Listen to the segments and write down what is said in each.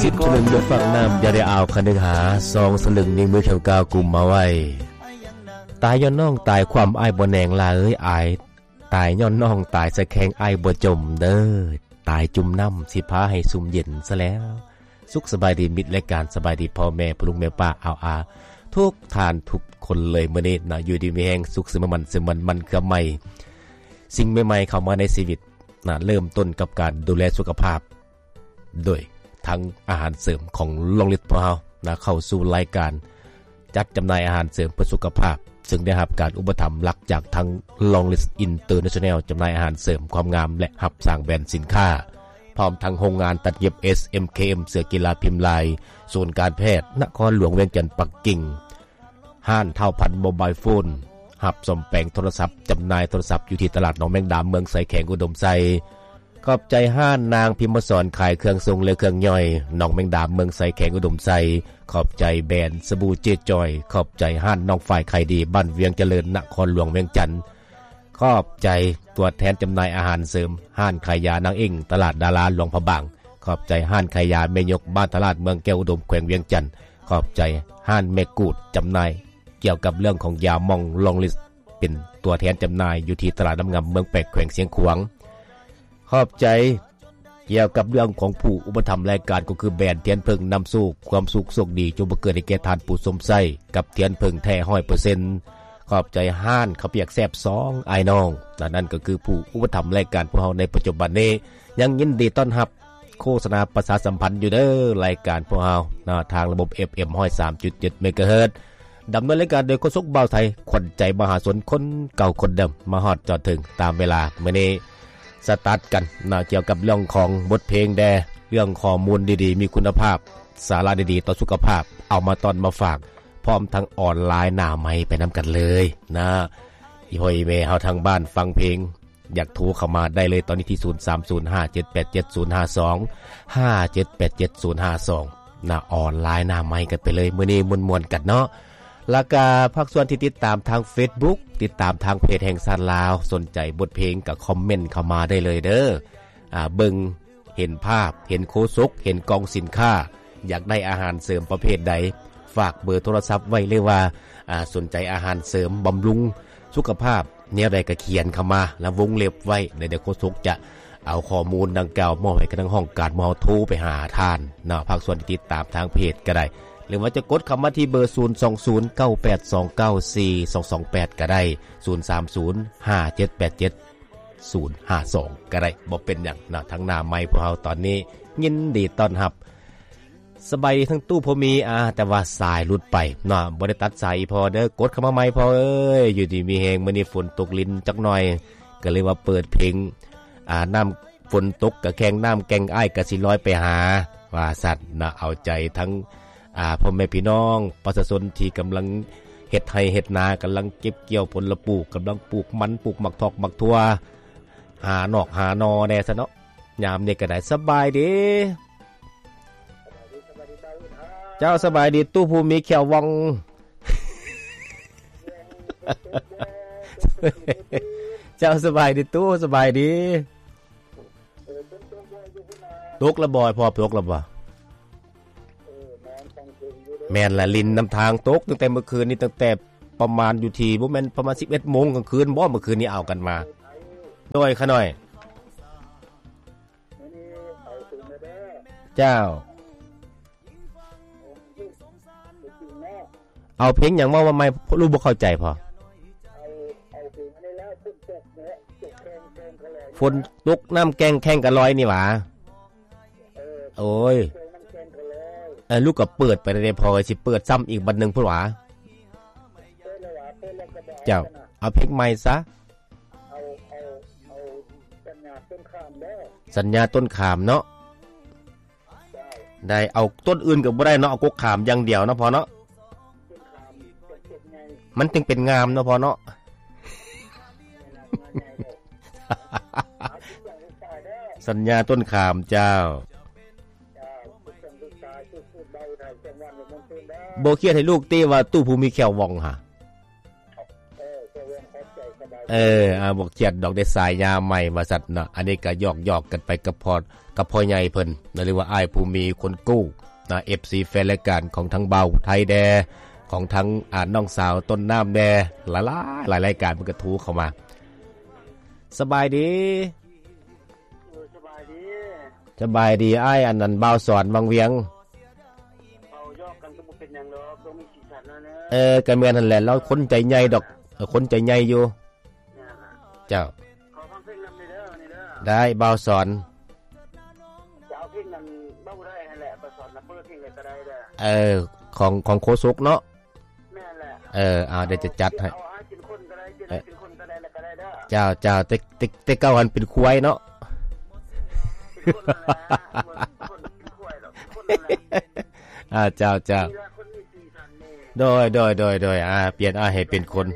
ສິບສະລຶງເດືອນຟາກນ້ຳ ຢ່າໄດ້ອາວຄັນໜຶ່ງຫາ ສອງສະລຶງນິ້ວມືແຂງກ້າວກຸມມາໄວ້. ຕາຍຍ້ອນນ້ອງຕາຍຄວາມອ້າຍບໍ່ແນງ ຫຼ້າເອີຍ ອາຍ ຕາຍຍ້ອນນ້ອງຕາຍສະແຂງ ອ້າຍບໍ່ຈົ່ມເດີ ຕາຍຈຸ່ມນ້ຳ ຊິພາໃຫ້ຊຸ່ມເຢັນຊະແລ້ວ. ສຸກສະບາຍດີມິດລາຍການ ສະບາຍດີພໍ່ແມ່ພໍ່ລຸງແມ່ປ້າອາວອາ ທຸກທ່ານທຸກຄົນເລີຍ. ມື້ນີ້ນະ ຢູ່ດີມີແຮງ ສຸກຊື່ໝັ້ນຊື່ໝັ້ນ ໝັ້ນເຄືອໃໝ່ ສິ່ງໃໝ່ໆເຂົ້າມາໃນຊີວິດນະ ເລີ່ມຕົ້ນກັບການດູແລສຸຂະພາບ ໂດຍທັງອາຫານເສີມຂອງລອງລິດພວກເຮົານະ ເຂົ້າສູ່ລາຍການຈັດຈຳໜ່າຍອາຫານເສີມເພື່ອສຸຂະພາບ ເຊິ່ງໄດ້ຮັບການອຸປະຖຳຫຼັກຈາກທັງລອງລິດອິນເຕີເນຊັນແນວ ຈຳໜ່າຍອາຫານເສີມຄວາມງາມ ແລະ ຮັບສ້າງແບຣນສິນຄ້າ ພ້ອມທັງໂຮງງານຕັດເຢັບ ເອສເອັມເຄເອັມ ເສື້ອກິລາພິມລາຍ ສູນການແພດນະຄອນຫຼວງວຽງຈັນ ປັກກິ່ງ ຮ້ານທ້າວພັນໂມບາຍໂຟນ ຮັບສ້ອມແປງໂທລະສັບ ຈຳໜ່າຍໂທລະສັບຢູ່ທີ່ຕະຫຼາດໜອງແມງດາ ເມືອງໄຊ ແຂວງອຸດົມໄຊ. ຂອບໃຈຮ້ານນາງພິມມະສອນ ຂາຍເຄື່ອງຊົງ ແລະ ເຄື່ອງຍ່ອຍ ໜອງແມງດາ ເມືອງໄຊ ແຂວງອຸດົມໄຊ. ຂອບໃຈແບຣນສະບູເຈຈອຍ. ຂອບໃຈຮ້ານນ້ອງຝ້າຍຂາຍດີ ບ້ານວຽງຈະເລີນ ນະຄອນຫຼວງວຽງຈັນ. ຂອບໃຈຕົວແທນຈຳໜ່າຍອາຫານເສີມ ຮ້ານຂາຍຢານາງເອງ ຕະຫຼາດດາລາ ຫຼວງພະບາງ. ຂອບໃຈຮ້ານຂາຍຢາແມ່ຍົກ ບ້ານທະລາດ ເມືອງແກ້ວອຸດົມ ແຂວງວຽງຈັນ. ຂອບໃຈຮ້ານແມ່ກູດ ຈຳໜ່າຍກ່ຽວກັບເລື່ອງຂອງຢາໝອງລອງລິດ ເປັນຕົວແທນຈຳໜ່າຍຢູ່ທີ່ຕະຫຼາດນ້ຳງາມ ເມືອງແປກ ແຂວງຊຽງຂວາງ. ຂອບໃຈກ່ຽວກັບເລື່ອງຂອງຜູ້ອຸປະຖຳລາຍການ ກໍຄືແບຣນທຽນເຜິ້ງນຳໂຊກ ຄວາມສຸກໂຊກດີຈົ່ງບັງເກີດໃຫ້ແກ່ທ່ານຜູ້ຊົມໃຊ້ ກັບທຽນເຜິ້ງແທ້ຮ້ອຍເປີເຊັນ. ຂອບໃຈຮ້ານເຂົ້າປຽກແຊບສອງອ້າຍນ້ອງ ນັ້ນກໍຄືຜູ້ອຸປະຖຳລາຍການພວກເຮົາໃນປັດຈຸບັນນີ້. ຍັງຍິນດີຕ້ອນຮັບ ໂຄສະນາປະຊາສຳພັນຢູ່ເດີ ລາຍການພວກເຮົານະ ທາງລະບົບເອັຟເອັມຮ້ອຍສາມຈຸດເຈັດເມກາເຮີດ ດຳເນີນລາຍການໂດຍໂຄສົກບ່າວໄທ ຂວັນໃຈມະຫາຊົນຄົນເກົ່າຄົນເດີມ ມາຮອດຈອດເຖິງຕາມເວລາ. ມື້ນີ້ສະຕາດກັນນະ ກ່ຽວກັບເລື່ອງຂອງບົດເພງແດ່ ເລື່ອງຂໍ້ມູນດີໆ ມີຄຸນນະພາບ ສາລະດີໆ ຕໍ່ສຸຂະພາບ ເອົາມາຕ້ອນມາຝາກ ພ້ອມທັງອອນລາຍໜ້າໄມໄປນຳກັນເລີຍນະ. ອີ່ພໍ່ອີ່ແມ່ເຮົາທາງບ້ານຟັງເພງ ຢາກໂທເຂົ້າມາໄດ້ເລີຍຕອນນີ້ທີ່ ສູນສາມສູນຫ້າເຈັດແປດເຈັດສູນຫ້າສອງ ຫ້າເຈັດແປດເຈັດສູນຫ້າສອງ ນະ ອອນລາຍໜ້າໄມກັນໄປເລີຍ. ມື້ນີ້ມ່ວນໆກັນເນາະ ແລ້ວກະພາກສ່ວນທີ່ຕິດຕາມທາງເຟສບຸກ ຕິດຕາມທາງເພຈແຫ່ງຊາດລາວ ສົນໃຈບົດເພງກໍຄອມເມັນເຂົ້າມາໄດ້ເລີຍເດີ. ອາ ເບິ່ງເຫັນພາບ ເຫັນໂຄສົກ ເຫັນກອງສິນຄ້າ ຢາກໄດ້ອາຫານເສີມປະເພດໃດ ຝາກເບີໂທລະສັບໄວ້ ຫຼືວ່າ ອາ ສົນໃຈອາຫານເສີມບຳລຸງສຸຂະພາບ ແນວໃດກໍຂຽນເຂົ້າມາ ແລ້ວວົງເລັບໄວ້ ແລ້ວດຽວໂຄສົກຈະເອົາຂໍ້ມູນດັ່ງກ່າວມອບໃຫ້ກັບທາງຫ້ອງການ ເຮົາໂທໄປຫາທ່ານເນາະ. ພາກສ່ວນທີ່ຕິດຕາມທາງເພຈກໍໄດ້ ຫຼືວ່າຈະກົດເຂົ້າມາທີ່ເບີ ສູນສອງສູນເກົ້າແປດສອງເກົ້າສີ່ສອງສອງແປດກໍໄດ້ ສູນສາມສູນຫ້າເຈັດແປດເຈັດສູນຫ້າສອງກໍໄດ້ ບໍ່ເປັນຫຍັງເນາະ. ທາງໜ້າໄມພວກເຮົາຕອນນີ້ຍິນດີຕ້ອນຮັບ ສະບາຍດີທັງຕູ້ພໍ່ມີ ອາ ແຕ່ວ່າສາຍຫຼຸດໄປເນາະ ບໍ່ໄດ້ຕັດສາຍອີ່ພໍ່ເດີ ກົດເຂົ້າມາໃໝ່ພໍ່ເອີຍ. ຢູ່ດີມີແຮງ ມື້ນີ້ຝົນຕົກລິນຈັກໜ່ອຍ ກໍເລີຍວ່າເປີດເພງ ອາ ນ້ຳຝົນຕົກກະແຂ່ງນ້ຳແກ່ງ ອ້າຍກະຊິລອຍໄປຫາ ວ່າຊັ້ນນະ. ເອົາໃຈທັງ ອາ ພໍ່ແມ່ພີ່ນ້ອງປະຊາຊົນທີ່ກຳລັງເຮັດໄຮ່ເຮັດນາ ກຳລັງເກັບກ່ຽວຜົນລະປູກ ກຳລັງປູກມັນ ປູກໝາກຖອກໝາກຖົ່ວ ຫານອກຫາໜໍ່ແດ່ຊະເນາະ. ຍາມນີ້ກໍໄດ້ ສະບາຍດີ ເຈົ້າ ສະບາຍດີຕູ້ຜູ້ມີແຂ້ວວ່ອງ ເຈົ້າ ສະບາຍດີຕູ້ ສະບາຍດີ. ຕົກລະບໍ່ພໍ່ ຕົກລະບໍ່? ແມ່ນລະ ລິນນຳທາງ ຕົກຕັ້ງແຕ່ມື້ຄືນນີ້ ຕັ້ງແຕ່ປະມານຢູ່ທີ່ ບໍ່ແມ່ນປະມານສິບເອັດໂມງກາງຄືນບໍ່ ມື້ຄືນນີ້ເອົາກັນມາ. ໂດຍ ຂະນ້ອຍ ເຈົ້າ ເອົາເພງຫຍັງເວົ້າມາໃໝ່ ລູກບໍ່ເຂົ້າໃຈພໍ່. ຝົນຕົກນ້ຳແກ່ງແຂ່ງກະລອຍນີ້ຫວາ. ໂອ້ຍ ເອີ ລູກກໍເປີດໄປແລ້ວເດ້ພໍ່ ຊິເປີດຊ້ຳອີກບັດໜຶ່ງພຸ້ນຫວາ. ເຈົ້າ ເອົາເພງໃໝ່ຊະ. ສັນຍາຕົ້ນຂາມເນາະ. ໄດ້ ເອົາຕົ້ນອື່ນກໍບໍ່ໄດ້ເນາະ ເອົາກົກຂາມຢ່າງດຽວເນາະພໍ່ເນາະ ມັນຈຶ່ງເປັນງາມເນາະພໍ່ເນາະ. ສັນຍາຕົ້ນຂາມ ເຈົ້າ. ບໍ່ຄຽດໃຫ້ລູກຕິວ່າຕູ້ຜູ້ມີແຂ້ວວ່ອງຫາ. ເອີ ອ່າ ບໍ່ຄຽດດອກ ໄດ້ສາຍຍາໃໝ່ວ່າຊັ້ນເນາະ. ອັນນີ້ກໍຫຍອກໆກັນໄປກັບພໍ່ ກັບພໍ່ໃຫຍ່ເພິ່ນນະ ຫຼືວ່າອ້າຍຜູ້ມີຄົນກູ້ນະ ເອັຟຊີແຟນລາຍການຂອງທາງບ່າວໄທແດ່ ຂອງທາງ ອ່າ ນ້ອງສາວຕົ້ນນ້ຳແດ່ ຫຼາຍໆ ຫຼາຍລາຍການເພິ່ນກໍໂທເຂົ້າມາ. ສະບາຍດີ. ເອີ ສະບາຍດີ. ສະບາຍດີອ້າຍ ອັນນັ້ນ ບ່າວສອນວັງວຽງ. ເວົ້າຢອກກັນກໍບໍ່ເປັນຫຍັງດອກ ຕ້ອງມີສີສັນນະ. ເອີ ກໍແມ່ນຫັ້ນແຫຼະ ລາວຄົນໃຈໃຫຍ່ດອກ. ເອີ ຄົນໃຈໃຫຍ່ຢູ່. ເຈົ້າ ຂໍຟັງເພງນຳເດີ ນີ້ເດີ. ໄດ້ ບ່າວສອນ. ຈະເອົາເພງນັ້ນ ເວົ້າໄດ້ຫັ້ນແຫຼະ ບ່າວສອນນະ ເປີດເພງໃດກໍໄດ້ເດີ. ເອີ ຂອງ ຂອງໂຄສົກເນາະ. ແມ່ນແຫຼະ. ເອີ ເອົາ ດຽວຈະຈັດໃຫ້. ເອົາໃຫ້ເປັນຄົນກໍໄດ້ ເປັນ ເອີ ເປັນຄົນກໍໄດ້ ແລ້ວກໍໄດ້ເດີ. ເຈົ້າ ເຈົ້າ ແຕ່ ແຕ່ ແຕ່ເກົ່າຫັ້ນເປັນຄວາຍເນາະ. ເປັນຄົນນັ້ນແຫຼະ ຄົນເປັນຄວາຍດອກ ເປັນຄົນນັ້ນແຫຼະ. ອ່າ ເຈົ້າ ເຈົ້າ. ນີ້ລະຄົນມີສີສັນນີ້. ໂດຍ ໂດຍ ໂດຍ ໂດຍ. ອ່າ ປ່ຽນ ອ່າ ໃຫ້ເປັນຄົນ.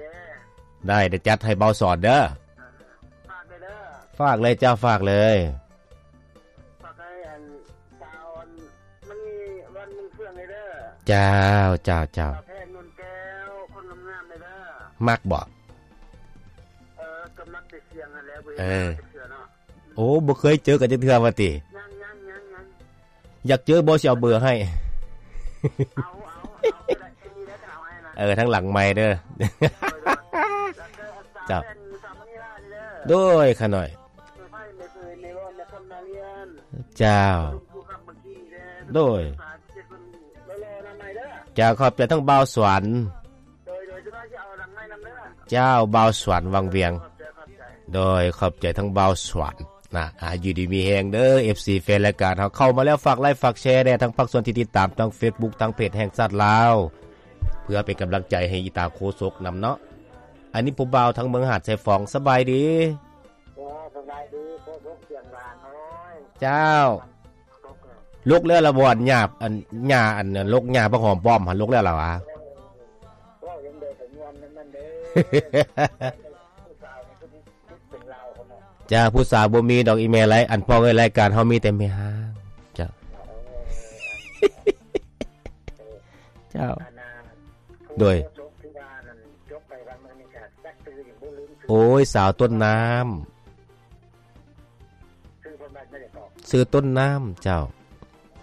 ໄດ້ ດຽວຈັດໃຫ້ບ່າວສອນເດີ. ຝາກເລີຍເດີ. ຝາກເລີຍເຈົ້າ ຝາກເລີຍ. ຝາກໃຫ້ອັນສາວອັນມັນມີວັນເມືອງເຟືອງເລີຍເດີ. ເຈົ້າ ເຈົ້າ ເຈົ້າ. ສາວແພງ ນົນແກ້ວ ຄົນງາມໆເລີຍເດີ. ມັກບໍ່? ເອີ ກໍມັກແຕ່ສຽງຫັ້ນແຫຼະ ບໍ່ເຫັນ ເອີ ເທື່ອເນາະ. ໂອ້ ບໍ່ເຄີຍເຈີກັນຈັກເທື່ອວ່າຕິ? ຍັງ ຍັງ ຍັງ ຍັງ. ຢາກເຈີບໍ່ ຊິເອົາເບີໃຫ້. ເອົາ ເອົາ ເອົາກໍໄດ້ ຊິໄດ້ເອົາໃຫ້ນະ. ເອີ ທາງຫຼັງໄມເດີ. ໂດຍ ໂດຍ. ເຈົ້າ ໂດຍ ຂ້ານ້ອຍ. ເຈົ້າ ໂດຍ. ເຈົ້າ ຂອບໃຈທັງບ່າວສວນ. ໂດຍ ໂດຍ ເຈົ້າ ບ່າວສວນວັງວຽງ. ໂດຍ ຂອບໃຈທັງບ່າວສວນນະ. ອ່າ ຢູ່ດີມີແຮງເດີ ເອັຟຊີແຟນລາຍການເຮົາ ເຂົ້າມາແລ້ວ ຝາກໄລ ຝາກແຊແດ່ ທັງພາກສ່ວນທີ່ຕິດຕາມທາງເຟສບຸກ ທາງເພຈແຫ່ງຊາດລາວ ເພື່ອເປັນກຳລັງໃຈໃຫ້ອີຕາໂຄສົກນຳເນາະ. ອັນນີ້ຜູ້ບ່າວທາງເມືອງຫາດຊາຍຟອງ ສະບາຍດີ. ເຈົ້າ ສະບາຍດີ ໂຄສົກສຽງຫຼານ. ໂອ້ຍ ເຈົ້າ ລົກແລ້ວລະບໍ່? ອັນຫຍ້າ ອັນຫຍ້າ ອັນລົກຫຍ້າບັກຫອມປ້ອມຫັ້ນ ລົກແລ້ວລະຫວາ? ເວົ້າຈັ່ງໃດກໍມ່ວນນຳມັນເດີ. ຜູ້ສາວນີ້ຄືຊິຕິດເປັນລາວພຸ້ນນະ. ຈ້າ ຜູ້ສາວບໍ່ມີດອກອີ່ແມ່ໄລ ອັນພໍ່ເອີຍ ລາຍການເຮົາມີແຕ່ແມ່ຮ້າງ. ເຈົ້າ ເອີ ເຈົ້າ ອັນນ່າ ໂດຍ ໂຄສົກທີ່ວ່ານັ້ນ ຈົບໄປວັນມື້ນີ້ກໍຈັກຊື່ຢູ່ບໍ່ ລືມຊື່. ໂອ້ຍ ສາວຕົ້ນນ້ຳ. ຊື່ເພິ່ນວ່າແນວໃດເກາະ? ຊື່ຕົ້ນນ້ຳ ເຈົ້າ.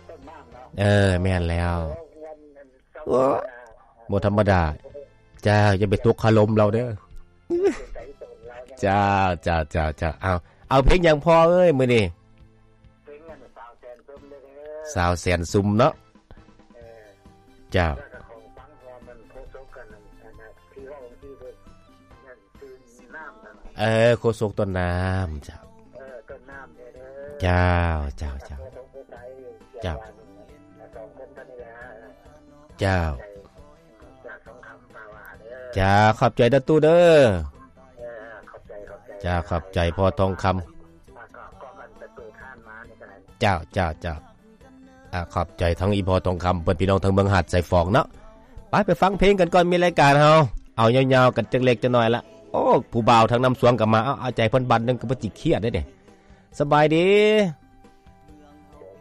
ຕົ້ນນ້ຳເນາະ. ເອີ ແມ່ນແລ້ວ. ໂອ້ ບໍ່ທຳມະດາ. ເຈົ້າ ຢ່າໄປຕົກຄາລົມລາວເດີ. ເປັນໃຈໂຕນລາວ. ເຈົ້າ ເຈົ້າ ເຈົ້າ ເຈົ້າ. ເອົາ ເອົາເພງຫຍັງພໍ່ເອີຍມື້ນີ້? ເພງອັນສາວແສນຊຸມເດີ. ສາວແສນຊຸມເນາະ. ເອີ ເຈົ້າ. ແລ້ວກໍຂອງຟັງ ເພາະວ່າມັນໂຄສົກກັນ ອັນນັ້ນ ທີ່ເວົ້າທີ່ເພິ່ນນັ້ນ ເອີ ໂຄສົກຕົ້ນນ້ຳ. ເຈົ້າ ເອີ ຕົ້ນນ້ຳເດີ. ເຈົ້າ ເຈົ້າ ເຈົ້າ. ເຈົ້າ ເຈົ້າ. ເຈົ້າ ຂອບໃຈເດີຕູ້ເດີ. ເຈົ້າ ຂອບໃຈພໍ່ທອງຄຳ. ເຈົ້າ ເຈົ້າ ເຈົ້າ. ອ່າ ຂອບໃຈທັງອີ່ພໍ່ທອງຄຳ ເພິ່ນ ພີ່ນ້ອງທາງເມືອງຫາດຊາຍຟອງເນາະ. ໄປ ໄປຟັງເພງກັນກ່ອນ ມີລາຍການເຮົາ ເອົາຍາວໆກັນຈັກເລັກຈັກໜ້ອຍລະ. ໂອ້ ຜູ້ບ່າວທາງນ້ຳສວງກໍມາ. ເອົາ ເອົາໃຈເພິ່ນບາດໜຶ່ງ ກໍບໍ່ຈິກຄຽດເດ້. ສະບາຍດີ.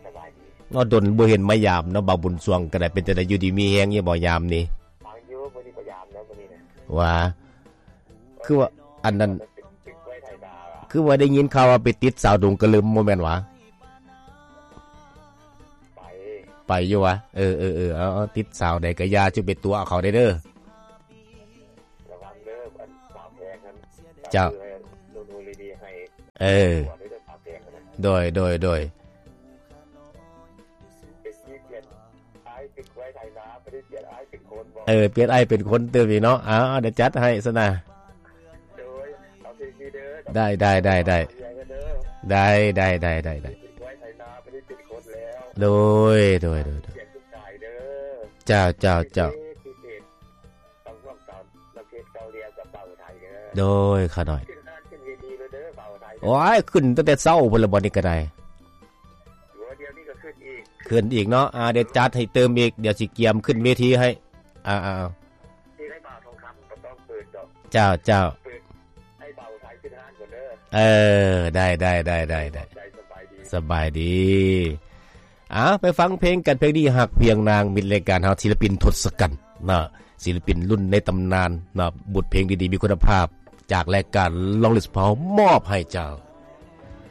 ສະບາຍດີ. ເນາະ ດົນບໍ່ເຫັນມາຢາມເນາະ ບ່າວບຸນສວງກໍໄດ້. ເປັນຈັ່ງໃດ ຢູ່ດີມີແຮງຢູ່ບໍ່ຍາມນີ້? ຟັງຢູ່ ມື້ນີ້ບໍ່ຍາມແລ້ວ ມື້ນີ້ນະ. ຫວາ? ຄືວ່າອັນນັ້ນ ຄືວ່າໄດ້ຍິນຂ່າວວ່າໄປຕິດສາວດົງກະລຶມ ບໍ່ແມ່ນຫວາ? ໄປ ໄປຢູ່ຫວາ? ເອີ ເອີ ເອີ ເອົາ ເອົາ ຕິດສາວໃດກະຢ່າ ຈະໄປຕົວະເຂົາໄດ້ເດີ. ລະວັງເດີ ອັນສາວແພງຫັ້ນ. ເຈົ້າ. ເອີ ໂດຍ ໂດຍ ໂດຍ. ເປັນທີ່ປ່ຽນອ້າຍເປັນຄວາຍໄຖນາ ບໍ່ໄດ້ປ່ຽນອ້າຍເປັນຄົນບໍ? ເອີ ປ່ຽນອ້າຍເປັນຄົນຕື່ມອີກເນາະ. ເອົາ ດຽວຈັດໃຫ້ຊັ້ນນະ. ໂດຍ ເອົາເພງນີ້ເດີ. ໄດ້ ໄດ້ ໄດ້ ໄດ້. ເອົາເພງນີ້ເດີ. ໄດ້ ໄດ້ ໄດ້ ໄດ້ ໄດ້. ເປັນຄວາຍໄຖນາ ບໍ່ໄດ້ເປັນຄົນແລ້ວ. ໂດຍ ໂດຍ ໂດຍ ໂດຍ. ປ່ຽນທຸກສາຍເດີ. ເຈົ້າ ເຈົ້າ ເຈົ້າ. ເພງນີ້ເພງ ຕ້ອງຮ່ວມສອນນຳເພງເກົ່າດຽວກັບເບົາໄທເດີ. ໂດຍ ຂະນ້ອຍ. ຂຶ້ນງານຂຶ້ນເວທີເລີຍເດີ ເບົາໄທເດີ. ໂອ້ຍ ຂຶ້ນຕັ້ງແຕ່ເຊົ້າພຸ້ນລະ ບັດນີ້ກໍໄດ້. ໂອ້ ດຽວນີ້ກໍຂຶ້ນອີກ. ຂຶ້ນອີກເນາະ. ອ່າ ດຽວຈັດໃຫ້ຕື່ມອີກ ດຽວຊິກຽມຂຶ້ນເວທີໃຫ້. ອ່າ ອ່າ ເພງໃຫ້ບ່າວທອງຄຳກໍຕ້ອງເປີດດອກ. ເຈົ້າ ເຈົ້າ. ເປີດໃຫ້ເບົາໄທຂຶ້ນຮ້ານກ່ອນເດີ. ເອີ ໄດ້ ໄດ້ ໄດ້ ໄດ້ ໄດ້. ຂອບໃຈ ສະບາຍດີ. ອ່າ ໄປຟັງເພງກັນ ເພງນີ້ ຮັກພຽງນາງ ມິດລາຍການເຮົາ ສິລະປິນທົດສະກັນເນາະ ສິລະປິນລຸ້ນໃນຕຳນານເນາະ. ບົດເພງດີໆ ມີຄຸນນະພາບ ຈາກລາຍການ Long Live Support ມອບໃຫ້ເຈົ້າ.